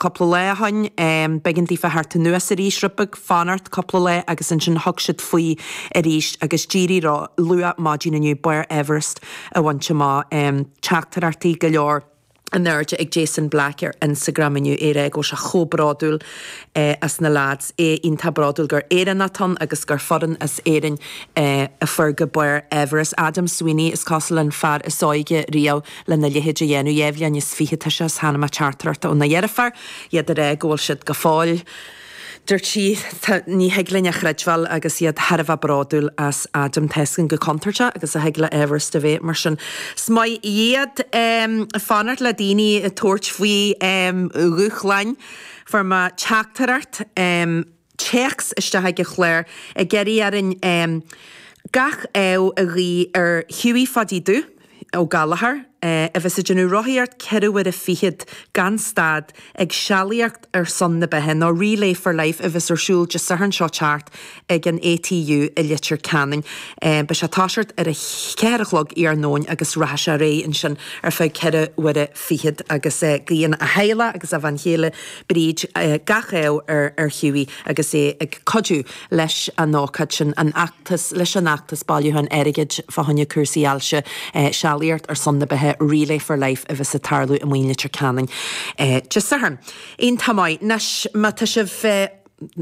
cúpla lá ó shoin. B'éigean daofa theacht anuas arís rud beag, fanacht cúpla lá agus ansin thug siad faoi arís agus d'éirigh leo luath maidin inniu barr Everest a bhaint amach. Teachtaireachtaí go leor in airde ag Jason Black ar Instagram inniu, é ag rá go bhfuil sé chomh bródúil as na lads, é iontach bródúil gur Éireannach atá ann agus gur foireann as Éirinn a fuair go barr Everest. Adam Sweeney is cosúil an fear is óige riamh lena leithéid a dhéanamh, 22 bhliain tá sé is chonaic mé teachtaireacht óna dheirfiúr, iad ag rá go bhfuil siad go fóill. Dúirt sí, Tá, ní thig linn a chreidbheáil agus iad thar a bheith bródúil as Adam. Tá 'fhios againn chomh contúirteach agus a thig le Everest a bheith, mar sin is maith iad. Fanacht le daoine ag tabhairt faoi dhúshláin. Fuair mé teachtaireacht, téacs isteach ag an chlár ag iarraidh orainn gach ádh a ghuí ar Hughie Pháidí Dubh, Ó Gallchóir, a bheas ag déanamh rothaíocht 24 uaire gan stad ag sealaíocht ar son na beatha, nó Relay for Life a bheas ar siúl Dé Sathairn seo teacht ag an ATU i Leitir Ceanainn. Beidh sé ag toiseacht ar a cheathair a chlog iarnóin agus rachaidh sé ar aghaidh ansin ar feadh 24 uaire agus guíonn a theaghlach agus a bhean chéile Bríd gach ádh ar Hughie agus é ag cuidiú leis an ócáid sin, an fheachtas, leis an fheachtas bailiúcháin airgid fá choinne cúrsaí ailse, sealaíocht ar son na beatha, Relay for Life a bheas ag tarlú amuigh in Leitir Ceanainn Dé Sathairn. Iontach maith. Anois, má tá sibh,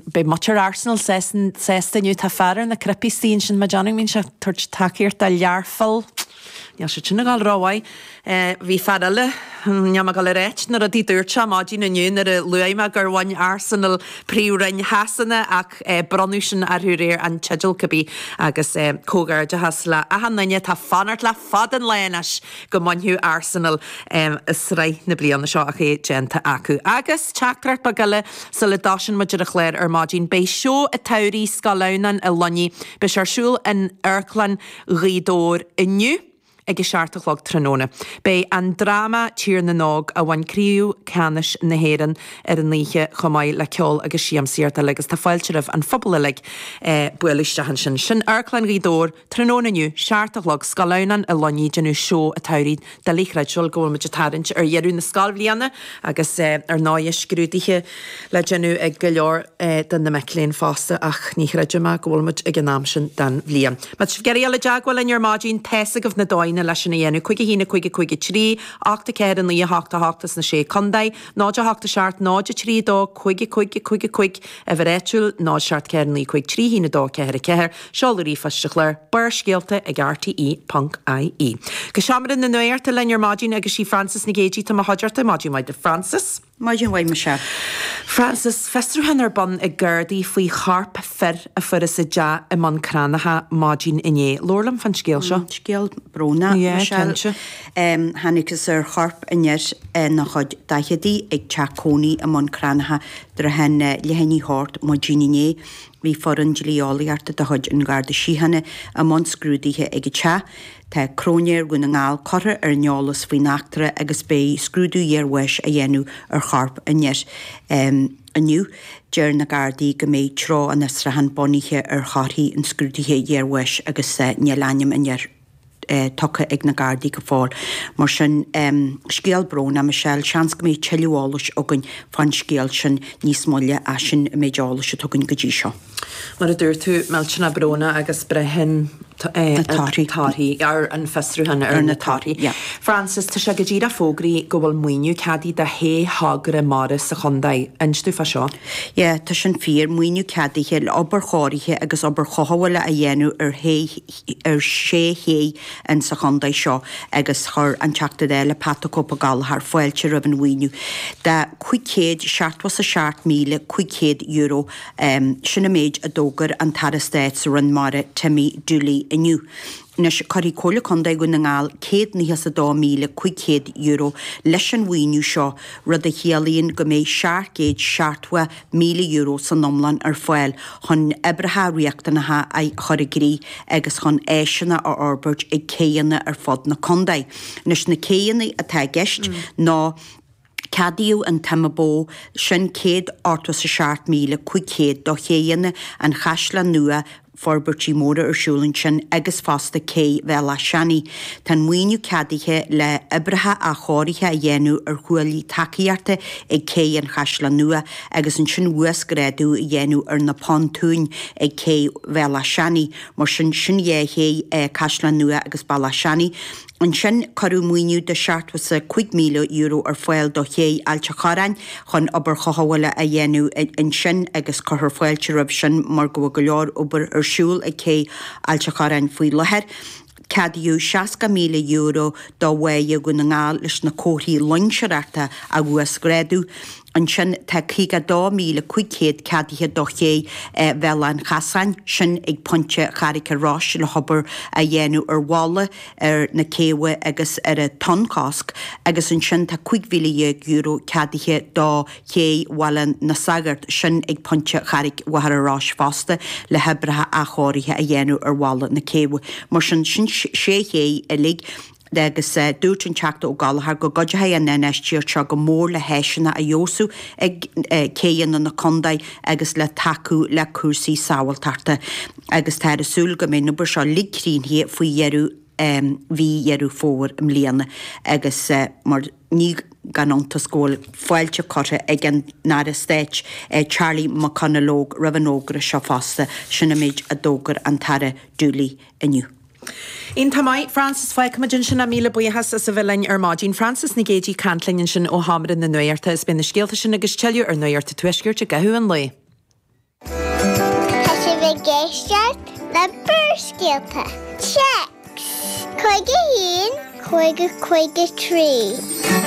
beidh muintir Arsenal sásta inniu, tá fear ar na cnaipí istigh ansin, mé ag déanamh go mbíonn sé ag tabhairt tacaíocht do Learpholl. Níl siad sin ag dul rómhaith. Bhí fear eile, níl mé ag dul a ráit na rudaí dúirt sé maidin inniu nuair a luaigh mé gur bhain Arsenal Príomhroinn Shasana ach bronnadh sin orthu aréir, an teideal cibé, agus comhghairdeachas le achan duine atá fanacht le fada an lá anois go mbainfeadh Arsenal sraith na bliana seo ach é déanta acu. Agus teachtaireacht beag eile sula dtosaíonn muid ar an chlár ar maidin, beidh seó an tsamhraidh Scoil Adhamhnáin i Luinnigh, beidh sé ar siúl in Amharclann Ghaoth Dobhair inniu ag a 7 a chlog tráthnóna. Beidh an dráma Tír na nÓg, a bhain Craobh Ceannais na hÉireann ar an oíche chomh maith le ceol agus siamsaíocht eile agus tá fáilte roimh an phobal uilig bualadh isteach ansin. Sin Amharclann Ghaoth Dobhair tráthnóna inniu, 7 a chlog, Scoil Adhamhnáin i Luinnigh, déanamh seó an tsamhraidh. Doiligh a chreidbheáil go bhfuil muid ag tarraingt ar dheireadh na scoilbhliana agus ar ndóighe scrúduithe le déanamh ag go leor de na mic léinn fosta ach ní chreidim go bhfuil muid ag an am sin den bhliain. Má tá sibh ag iarraidh dul i dteagmháil linn ar maidin, tá's agaibh na dóigheanna leis sin a dhéanamh, 5 1 5 5 3 8 4 9 8 8 sna Sé Contae, 0 8 7 0 3 2 5 5 5 5, uimhir áitiúil, 0 7 4 9 5 3 1 2 4 4, Seoladh ríomhphoist an chláir, Barrscéalta ag rte ponc ie. Go seomra na nuachta linn ar maidin agus sí Frances Nic Géadaigh atá i mo chuideachta. Maidin mhaith duit Frances. Maidin mhaith Michelle. Frances, fiosrúchán ar bun ag Gardaí faoi chorp fir a fuarthas i dteach i mBun Cranncha maidin inné. Labhair liom fán scéal seo. Scéal brónach Yeah, Michelle. cinnte. Thángthas ar chorp an fhir ina chuid daicheadaí ag teach cónaí i mBun Cranncha trátha leath i ndiaidh a hocht maidin inné. Bhí foireann dlí-eolaíochta de chuid an Gharda Síochána i mbun scrúdaithe ag an teach. Tá Cróinéir Dhún na nGall curtha ar an eolas faoin eachtra agus beidh scrúdú iarbháis á dhéanamh ar chorp an fhir inniu. Deir na Gardaí go mbeidh treo an fhiosrúcháin bunaithe ar thorthaí an scrúdaithe iarbháis agus níl ainm an fhir tugtha ag na Gardaí go fóill. Mar sin, scéal brónach, Michelle. Seans go mbeidh tuilleadh eolais againn fán scéal sin níos moille ach sin an méid eolais atá againn go dtí seo. Mar a dúirt tú, millteanach brónach agus braitheann na torthaí ar an fiosrúchán ar na torthaí. Frances, tá sé go díreach fógraithe go bhfuil maoiniú ceadaithe do shé thogra mara sa chontae. Inis domh fá seo. Yeah, tá sin fíor. Maoiniú ceadaithe le obair chóirithe agus obair chothabhála a dhéanamh ar shé ar sé ché in sa chontae seo agus chuir an Teachta Dála Pat the Cope Ó Gallchóir fáilte roimh an mhaoiniú de €577,500. Sin an méid a d'fhógair an tAire Stáit sa Roinn Mara Timmy Dooley inniu. Anois cuirfidh Comhairle Contae Dhún na nGall €192,500 leis an mhaoiniú seo, rud a chiallaíonn go mbeidh €770,000 san iomlán ar fáil chun oibreacha riachtanacha a chur i gcrích agus chun áiseanna a fhorbairt ag céidheanna ar fud na contae. Anois na céidheanna atá i gceist ná ceadaíodh an tsuim a ba mhó, sin €187,500 do chéidheanna an Chaisleáin Nua. forbairtí móra ar siúl ansin agus fosta Cé Bhéal Átha Seanaidh. Tá an maoiniú ceadaithe le oibreacha athchóirithe a dhéanamh ar chuaillí tacaíochta ag Cé an Chaisleáin Nua agus ansin uasghrádú a dhéanamh ar na pontúin ag Cé Bhéal Átha Seanaidh. Mar sin, sin dhá ché, Caisleán Nua agus Béal Átha Seanaidh. Ansin, cuireadh maoiniú de €75,000 ar fáil do ché Ailt a' Chorráin chun obair chothabhála a dhéanamh ansin agus cuirfear fáilte roimh sin mar go bhfuil go leor obair ar siúl ag cé Ailt a' Chorráin faoi láthair. Ceadaíodh €60,000 do Bháighe Dhún na nGall leis na comharthaí loingseoireachta a uasghrádú. Ansin tá 52,500 ceadaithe do ché Bhéal Átha an Chasáin, sin ag Pointe Charraig an Rois le hobair a dhéanamh ar bhalla, ar na céibhe agus ar an tonnchosc agus ansin tá €15,000 ceadaithe do ché Bhaile na Sagart, sin ag Pointe Charraig Mhachaire Rois fosta, le hoibreacha athchóirithe a dhéanamh ar bhalla na céibhe. Mar sin, sin sé ché uilig agus dúirt an Teachta Ó Gallchóir go gcuideoidh an infheistíocht seo go mór le háiseanna a fheabhsú ag céidheanna na contae agus le tacú le cúrsaí sábháilteachta. agus táthar ag súil go mbeidh an obair seo uilig críochnaithe faoi dheireadh mhí Dheireadh Fómhair i mbliana agus mar ní gan iontas go bhfuil fáilte curtha ag an Aire Stáit Charlie McConalogue roimh an fhógra seo fosta, sin an méid a d'fhógair an tAire Dooley inniu. Iontach maith, Frances, fágfaimid ansin é. Míle buíochas as a bheith linn ar maidin. Frances Nic Géadaigh ag caint linn ansin ó Sheomra na Nuachta is beidh na scéalta sin agus tuilleadh ar Nuacht an Tuaiscirt i gcaitheamh an lae. Tá sibh ag éisteacht le Barrscéalta. Téacs 51 50 53.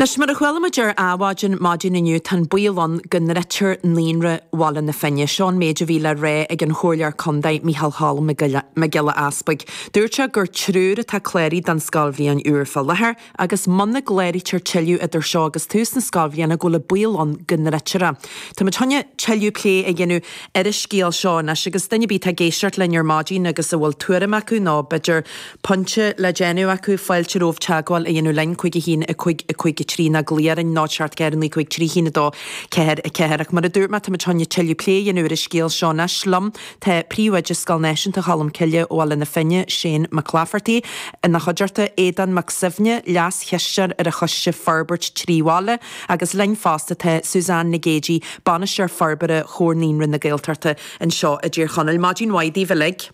Anois, mar a chuala muid ar Adhmhaidin maidin inniu, tá an baol ann go ndruidtear Naíonra Bhaile na Finne. Seo an méid a bhí le rá ag an Chomhairleoir Contae, Micheál Cholm Mac Giolla Easpaig. Dúirt sé gur triúr atá cláraithe don scoilbhliain úr fá láthair agus muna gcláraítear tuilleadh idir seo agus tús na scoilbhliana go bhfuil an baol ann go ndruidtear é. Tá muid chun tuilleadh plé a dhéanamh ar an scéal seo anois agus duine ar bith atá ag éisteacht linn ar maidin agus a bhfuil tuairim acu nó b'fhéidir pointe le déanamh acu, fáilte romhaibh teagmháil a dhéanamh linn, 5 1 5 5 3 nó glaoch orainn 0 7 4 9 5 3 1 2 4 4 Ach mar a dúirt mé tá muid chun tuilleadh plé a dhéanamh ar an scéal seo anois. Liom tá Príomhoide Scoil Náisiúnta Cholmcille ó Bhaile na Finne, Shane Mac Laifeartaigh, ina chuideachta, Aodán Mac Suibhne, Leas-Chisteoir ar an Choiste Forbairt Trí Bhaile, agus linn fosta tá Suzanne Nic Géadaigh, Bainisteoir Forbartha Chomhar Naíonraí na Gaeltachta anseo i dTír Chonaill. Maidin mhaith daoibh uilig.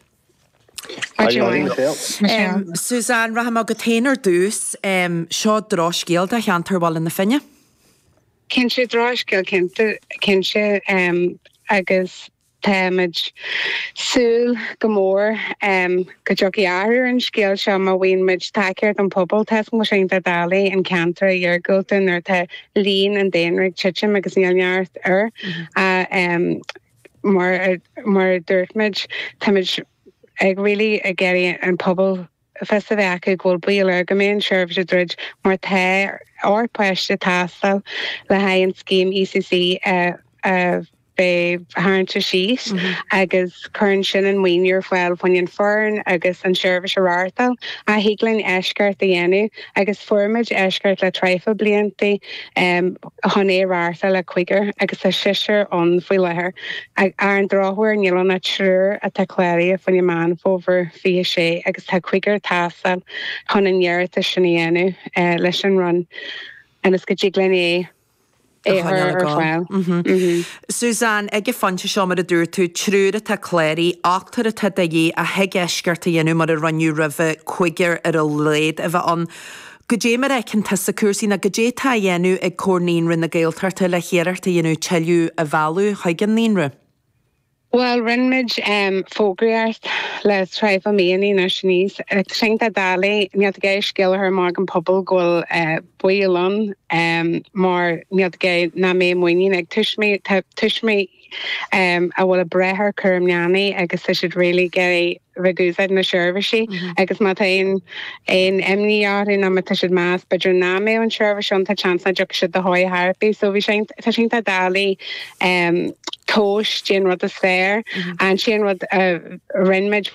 Maidin mhaith, Michelle. Suzanne, rachaidh mé chugat féin ar dtús. Seo drochscéal do cheantar Bhaile na Finne. Cinnte, drochscéal cinnte, cinnte agus Táimid súil go mór go dtiocfaidh athrú ar an scéal seo má bhfaigheann muid tacaíocht ón pobal. Tá 'fhios agam go bhfuil sé iontach doiligh an ceantar a iargúlta nuair atá líon an daonra ag titim agus níl neart air. Mar a dúirt muid, táimid ag really ag iarraidh an pobal fios a bheith acu go bhfuil baol air go mbeidh an seirbhís ag druid mar tá 8 páiste ag teastáil le haghaidh an scéim ECC a bheith tarraingthe síos agus cuireann sin an maoiniú ar fáil fá choinne an foireann agus an seirbhís a reáchtáil. Ach thig linn eisceacht a dhéanamh agus fuair muid eisceacht le traidhfil bliantaí chun é a reáchtáil le cúigear agus tá seisear ann faoi láthair. Ar an drochuair níl ann ach triúr atá cláraithe fá choinne Meán Fómhair. 26 agus tá cúigear ag teastáil chun an iarratas sin a dhéanamh leis an Roinn ionas go dtig linn é a chur ar fáil. Suzanne, ag an phointe seo, mar a dúirt tú, triúr atá cláraithe, ochtar atá de dhíth ach thig eisceacht a dhéanamh mar a rinneadh roimhe, cúigear ar a laghad a bheith ann. Goidé mar a fheiceann tusa cúrsaí nó goidé atá á dhéanamh ag Comhar Naíonraí na Gaeltachta le hiarracht a dhéanamh tuilleadh a mhealladh chuig an naíonra? Bhuel, rinne muid fógraíocht le traidhfil míonna anois aníos. Tá sé iontach doiligh, níl tú ag iarraidh scéal a chur amach don pobal go bhfuil baol ann mar níl tú ag iarraidh nach mbeidh muinín ag tuismitheoirí. Tá tuismitheoirí a bhfuil ag brath ar cúram leanaí agus tá siad really ag iarraidh bheith ag úsáid na seirbhísí agus má tá aon aon imní orthu nó má tá siad meas b'fhéidir nach mbeadh an tseirbhís ann tá seans nach dtiocfaidh siad do theiripí so bhí sé tá sé iontach doiligh tomhas goidé an rud is fearr. An t-aon rud a rinne muid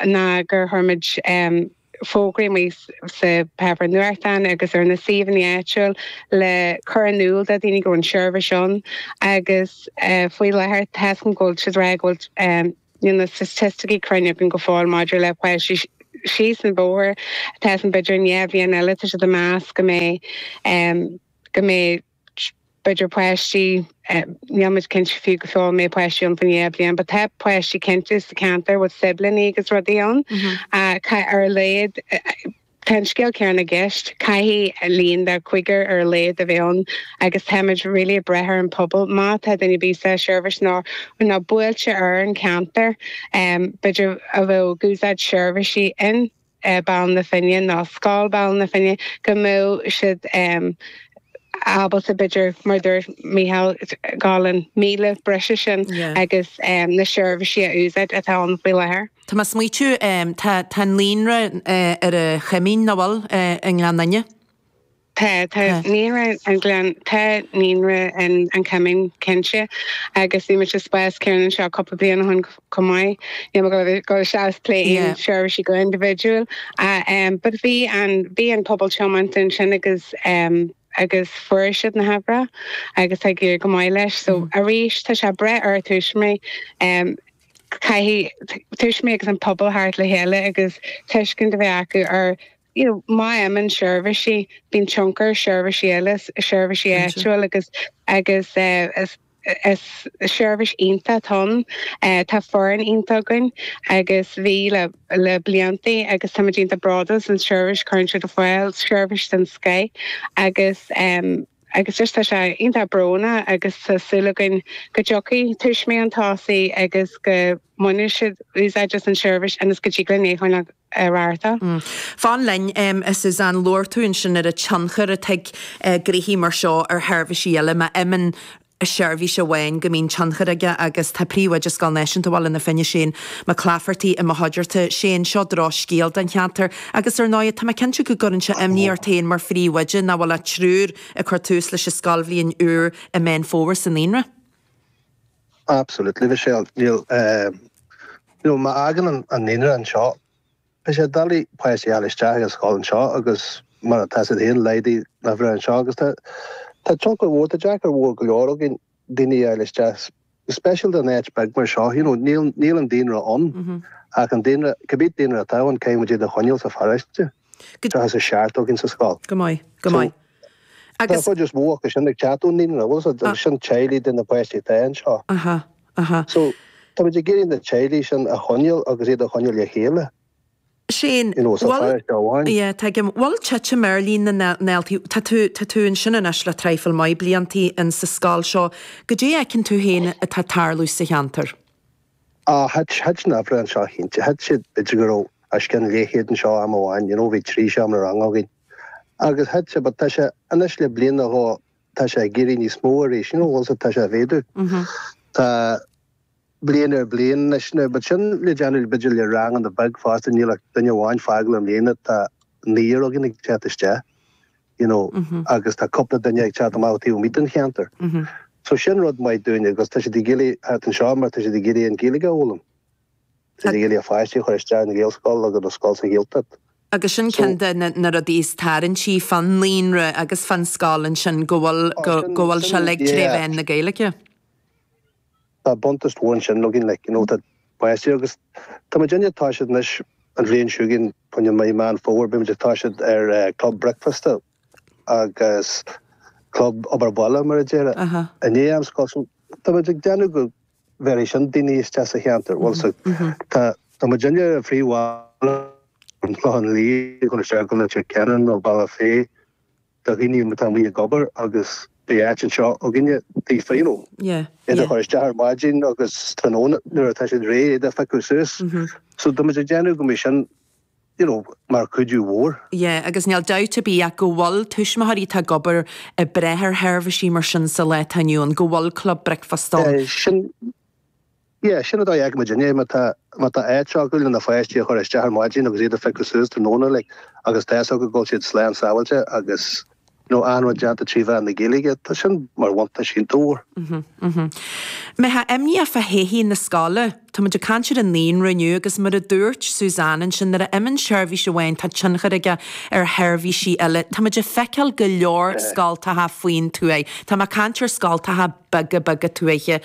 ná gur chuir muid. fógraí amuigh sa pháipéar nuachtáin agus ar na suíomhanna áitiúil le cur in iúl do dhaoine go bhfuil an seirbhís ann agus faoi láthair tá 'fhios agam go bhfuil siad ag rá go bhfuil níl na staitisticí cruinn againn go fóill maidir le páistí síos an bóthar tá 'fhios agam b'fhéidir i ndá bhliain eile tá siad ag meas go mbeidh go mbeidh b'fhéidir páistí, níl muid cinnte fiú go fóill an mbeidh páistí ann faoin dhá bhliain, but tá páistí cinnte sa cheantar with siblings agus rudaí ann. Ar a laghad, tá an scéal céanna i gceist, caithfidh líon de chúigear ar a laghad a bheith ann agus táimid really ag brath ar an pobal. Má tá duine ar bith sa seirbhís nó nó buailte ar an cheantar, b'fhéidir a bheadh ag úsáid seirbhísí in. Baile na Finne nó Scoil Bhaile na Finne go mbeadh siad ábalta b'fhéidir mar a dúirt Mícheál gabháil an míle breise sin agus na seirbhísí a úsáid atá ann faoi láthair. Tá mé ag smaoitiú, tá tá an naíonra ar an Choimín, nach bhfuil, i nGleann Fhinne? Tá, tá naíonra an Ghleann, tá naíonra in An Coimín cinnte agus bhí muid sa spás céanna anseo cúpla bliain ó shin chomh maith. Níl mé ag dul isteach is plé aon seirbhísí go indibhidiúil but bhí an, bhí an pobal tiomanta ansin agus agus fuair siad na huimhreacha agus tá ag éirí go maith leis. So arís tá sé ag brath ar tuismitheoirí caithfidh tuismitheoirí agus an pobal theacht le chéile agus tuiscint a bheith acu ar you know, má imíonn seirbhísí, bíonn tionchar ar seirbhísí eile, seirbhísí áitiúil agus agus is is seirbhís iontach atá ann. Tá foireann iontach againn agus bhí le le blianta agus táimid iontach bródúil as an seirbhís a chuireann siad ar fáil, seirbhís den scoth agus agus just tá sé iontach brónach agus tá súil againn go dtiocfaidh tuismitheoirí chun tosaigh agus go mbainfidh siad úsáid as an seirbhís ionas go dtig linn é a choinneáil ag reáchtáil. Fan linn, a Suzanne, labhair tú ansin ar an tionchar atá ag gnoithí mar seo ar sheirbhísí eile. Má imíonn seirbhís amháin go mbíonn tionchar aige agus tá Príomhoide Scoil Náisiúnta Bhaile na Finne, Shane Mac Laifeartaigh i mo chuideachta. Shane, seo drochscéal don cheantar agus ar ndóigh tá mé cinnte go gcuireann sé imní ort féin mar phríomhoide nach bhfuil ach triúr ag cur tús leis an scoilbhliain úr i Meán Fómhair sa naíonra. Absolutely, Michelle. Níl, you know, má fhágann an naíonra anseo, beidh sé doiligh páistí a fháil isteach ag an scoil anseo agus mar atá siad féin, laghdaigh na huimhreacha anseo agus tá, tá tionchar mhór, tá deacair mhór go leor againn daoine a fháil isteach, go speisialta in áit beag mar seo, you know, níl, níl an daonra ann ach an daonra, cibé daonra atá ann, caithfidh muid iad a choinneáil sa pharóiste, 37 againn sa scoil. Go maith, go maith. Tá an chuid is mó acu sin ag teacht ón naíonra, bhfuil a fhios agat, agus sin teaghlaigh de na páistí atá anseo. Aha, aha. So, táimid ag iarraidh na teaghlaigh sin a choinneáil agus iad a choinneáil le chéile. Shane, You know, sa bhfuil, pharóiste amháin. yeah, tuigim, bhfuil titim ar líon na ndaltaí, tá tú, tá tú ansin anois le traidhfil maith bliantaí in sa scoil seo, goidé a fheiceann tú féin atá ag tarlú sa cheantar? Ah, thit, thit na huimhreacha anseo cinnte, thit siad, b'fhéidir go raibh os cionn leathchéad anseo am amháin, you know, bhí trí seomra ranga againn. Agus thit sé, but tá sé, anois le bliain nó dhó, tá sé ag éirí níos mó arís, you know, bhfuil a fhios agat, tá sé ag mhéadú. Tá bliain ar bliain anois, now, but sin le déanamh b'fhéidir le ranganna beag fosta, níl ach duine amháin fágáil i mbliana, tá naonúr againn ag teacht isteach, you know, agus tá cúpla duine ag teacht amach taobh amuigh den cheantar. So sin rud maith dúinn agus tá siad ag iarraidh theacht anseo mar tá siad ag iarraidh an Ghaeilge a fhoghlaim. Tá siad ag iarraidh a pháistí a chur isteach in Ghaelscoil agus a scoil sa Ghaeltacht. Agus sin ceann de na rudaí is tarraingtí fán naíonra agus fán scoil ansin, go bhfuil, go bhfuil sé uilig tré mheán na Gaeilge. Tá buntáiste mhór ansin againn, like, you know, tá páistí agus tá muidinne ag toiseacht anois an bhliain seo chugainn, fá choinne mí Meán Fómhair, beidh muid ag toiseacht ar club bricfeasta agus club obair bhaile, mar a déarfá, i ndiaidh am scoile. So tá muid ag déanamh go bhféadfaidh sin daoine isteach sa cheantar. Bhuel, so tá tá muidinne ar an phríomhbhealach ón Chlochán Liath ag dul isteach go Leitir Ceanainn nó Bealach Féich do dhaoine atá amuigh ag obair agus beidh áit anseo againne daofa, you know, iad a chur isteach ar maidin agus tráthnóna nuair atá siad réidh iad a phiocadh suas. So tá muid ag déanamh go mbeidh sin you know, mar chuidiú mhór. Yeah, agus níl dabht ar bith ach go bhfuil tuismitheoirí atá ag obair ag brath ar sheirbhísí mar sin sa lá atá inniu ann, go bhfuil club bricfeasta ann. Sin, yeah, sin an dóigh a fheiceann muid inné, má tá, má tá áit acu le na pháistí a chur isteach ar maidin agus iad a phiocadh suas tráthnóna, like, agus tá fhios acu go bhfuil siad slán sábháilte agus. know, achan rud déanta trí mheán na Gaeilge, tá sin mar bhuntáiste iontach mhór. Mbeifeá imníoch fá thodhchaí na scoile? Tá muid ag caint ar an naíonra inniu agus mar a dúirt Suzanne ansin, nuair a imíonn seirbhís amháin tá tionchar aige ar sheirbhísí eile. Tá muid ag feiceáil go leor scoltacha faoin tuaith. Tá mé ag caint ar scoltacha beaga beaga tuaithe.